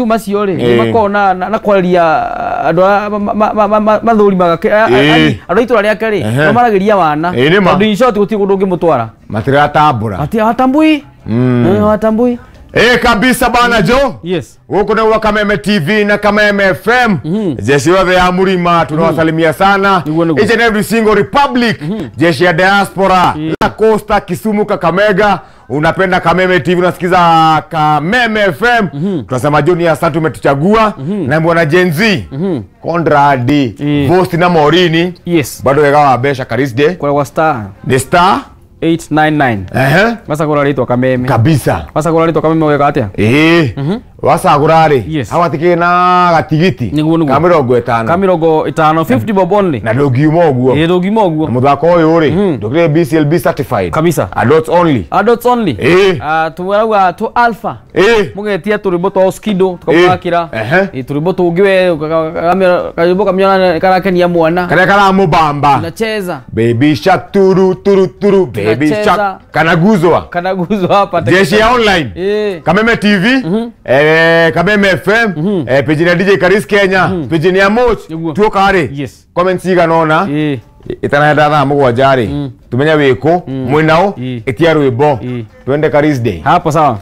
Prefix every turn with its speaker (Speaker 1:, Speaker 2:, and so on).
Speaker 1: Macio rĩ makoragwo na kwarĩria andũ arĩa mathũrimaga andũ a itũra rĩake rĩ, mamaragĩria wana.
Speaker 2: Ĩĩ, nĩ ma.
Speaker 1: Tondũ in short gũtirĩ kũndũ ũngĩmũtwara.
Speaker 2: Matiratambũra.
Speaker 1: Hawatambui. Hawatambui.
Speaker 2: Eh, kabisa bana jo.
Speaker 1: Yes.
Speaker 2: Gũkũ nĩguo Kameme TV na Kameme FM. Jeshi yothe ya Murima tunawasalimia sana.
Speaker 1: Nĩguo, nĩguo.
Speaker 2: Each and every single republic. Jeshi ya diaspora, La Costa, Kisumu, Kakamega. Unapenda Kameme TV, unasikiza Kameme FM. Tunasema Joni, asante umetuchagua. Na bwana Gen Z. Conrad, Vosti na Morini. Bado wega wa besha Karis Day.
Speaker 1: Kwa star
Speaker 2: Ni star
Speaker 1: 899. Macagũra rĩtwa Kameme.
Speaker 2: Kabisa.
Speaker 1: Macagũra rĩtwa Kameme ũgeka atĩa?
Speaker 2: Ĩĩ, wacagũra rĩ, hau na gatigiti
Speaker 1: Nĩguo, nĩguo.
Speaker 2: ka 50.
Speaker 1: Ka 50, 50 bob only.
Speaker 2: Na ndũngiuma ũguo.
Speaker 1: Ĩĩ, ndũngiuma ũguo.
Speaker 2: Na mũthako ũyũ rĩ, ndũkĩrĩ BCLB certified.
Speaker 1: Kabisa.
Speaker 2: Adults only.
Speaker 1: Adults only.
Speaker 2: Ĩĩ.
Speaker 1: Ah, tũrauga tũ alpha. Mũgetia tũrwĩmbo twa Oskido tũkamũthakĩra. Ĩĩ, tũrwĩmbo tũngĩ we karwĩmbo kamĩona karakenia mwana.
Speaker 2: Karĩa karamũbamba.
Speaker 1: Tunacheza.
Speaker 2: Baby shark turu turu turu baby
Speaker 1: Tunacheza.
Speaker 2: shark kanaguzwa.
Speaker 1: Kanaguzwa hapa.
Speaker 2: Jeshi ya online. Kameme TV, Kameme FM, page ya DJ Karis Kenya, page ya Moch.
Speaker 1: Nĩguo.
Speaker 2: Tuoka rĩ. Comments cigana ũna. Itanahenda thaa 7 rĩ, tumenye wĩkũ mwĩnao. Ĩtia rwĩmbo. Twende Karis Day.
Speaker 1: Hapo sawa.